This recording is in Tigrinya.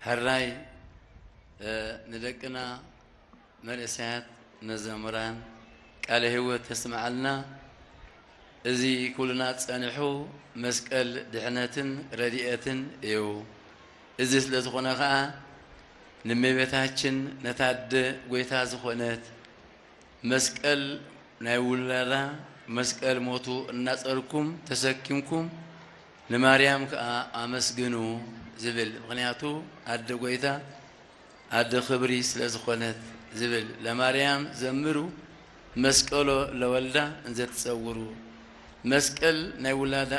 ሕራይ ንደቅና መንእሰያት መዘምራን ቃለ ህይወት ተስምዓልና። እዚ ኩልና ጸኒሑ መስቀል ድሕነትን ረድኤትን እዩ። እዚ ስለ ዝኾነ ኸኣ ንእመቤታችን ነታ ኣደ ጐይታ ዝኾነት መስቀል ናይ ውላዳ መስቀል ሞቱ እናጸርኩም ተሰኪምኩም ንማርያም ከኣ ኣመስግኑ ዝብል። ምኽንያቱ ኣደ ጐይታ ኣደ ክብሪ ስለ ዝኾነት ዝብል። ለማርያም ዘምሩ መስቀሎ ለወልዳ እንዘ ትጸውሩ። መስቀል ናይ ውላዳ